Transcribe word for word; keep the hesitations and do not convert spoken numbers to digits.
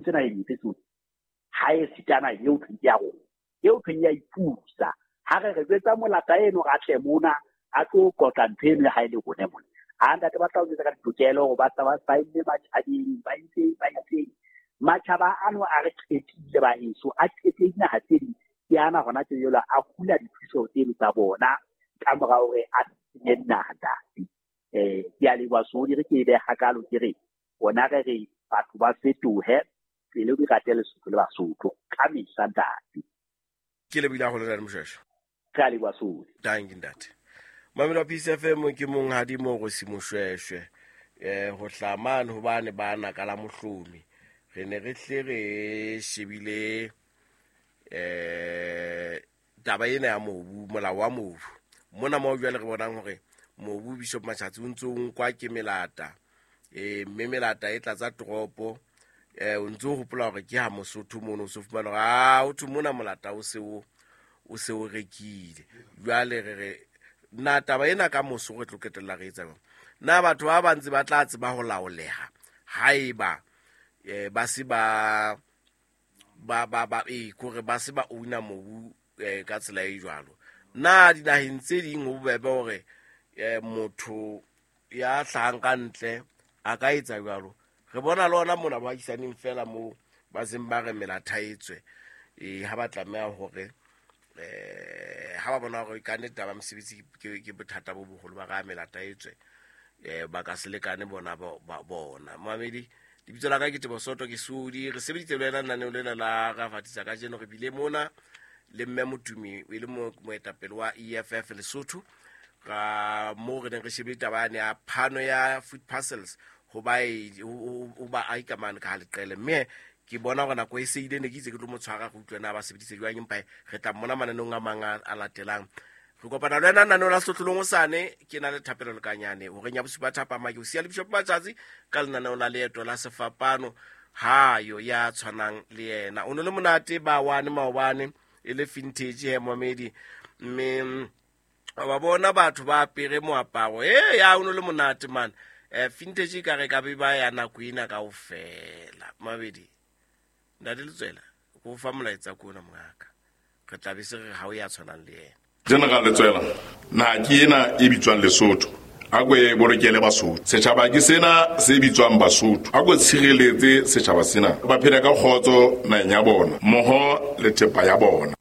Tsena e ntse tsohle ha e sitana eo thweng ke ya rona, eo thweng ya ipusa. Ha re re jwetsa molata eno re atle mona a tlo qotla ntho eno ha e le rona mona. Ha ntate ba tla o jwetsa ka ditokelo hore ba tla ba saenne matjhabeng, ba itseng ba itseng. Matjhaba ano a re qetile ba heso, a qetile dinaha tse ding. Ke ana hona tje jwale a hula dithuso tseno tsa bona ka mora hore a senye dinaha ntate. Eh, ke a leboha Sodi, re ke e beha hakalo ke re rona re re batho ba fetohe pele di rate Lesotho le Basotho ka mehla ntate. Ke lebohile haholo ntate Moshweshwe. Re a leboha Sodi. Thank you ntate. Mamelo wa Peace F M ke monghadi Morosi Moshweshwe. Eh, ho hlaha mane hobane ba naka la mohlomi. Re ne re hle re shebile, eh, taba ena ya mobu, molao wa mobu. Mona moo jwale re bonang hore mobu Bishop Machatsi o ntso o nkwa ke melata. Eh, mme melata e tlatsa toropo. Eh, o ntso o hopola hore ke ha Mosotho mono o so fumana hore, ah, ho thwe mona molata o se o, o se o rekile. Jwale re re, na taba ena ka moso re tlo qetella re etsa jwang? Na batho ba ba ntse ba tla tseba ho laoleha haeba, eh, ba se ba, ba, ba, ba, eh, kore ba se ba own-a mobu, eh, ka tsela e jwalo? Na dinaheng tse ding ho bobebe hore, eh, motho ya hlahang ka ntle a ka etsa jwalo? Re bona le ona mona boahisaneng feela moo ba seng ba re melata e tswe. Eh, ha ba tlameha hore, eh, ha ba bona hore ka nnete taba ya mosebetsi ke, ke bothata bo boholo, ba re melata e tswe. Eh, ba ka se lekane bona bo-, ba-, bona. Mamedi, lebitso la ka ke Tebo Soto, ke Sodi. Re sebeditse le wena lenaneo lena la Ra Fatisa kajeno. Re bile mona le mme Motumi, e le mo-, moetapele wa E F F Lesotho. Ra moo re neng re shebile taba yane ya phano ya food parcels ho ba e, ho, ho, ho ba ahi ka mane ka ha leqele. Mme ke bona hore nako e se ile, ne ke itse ke tlo mo tshwara re utlwe na ba sebeditse jwang, empa re tla mmona mananeong a mang a, a latelang. Re kopana le wena lenaneo la Sehlohlolong hosane. Ke na le Thapelo Lekanyane horeng ya bosupa thapama. Ke o siya le Bishop Matsatsi ka lenaneo la Leeto la Sefapano. Ha yo ya tshwanang le yena. O no le monate ba wane maobane e le vintage he momedi. Mme wa bona batho ba apere moaparo. Eh, ya o no le monate man. Eh, vintage e ka re ka be ba ya nako ena kaofela. Mabedi. Ntate Letswela, ko fa molaetsa ko ona mongaka. Re tla be se re ha o ya tshwanang le yena. General Letswela, naha ke ena e bitswang Lesotho. A ko e bolokele Basotho. Setjhaba ke sena se bitswang Basotho. A ko tshireletse setjhaba sena. Ba phele ka kgotso naheng ya bona, mmoho le thepa ya bona.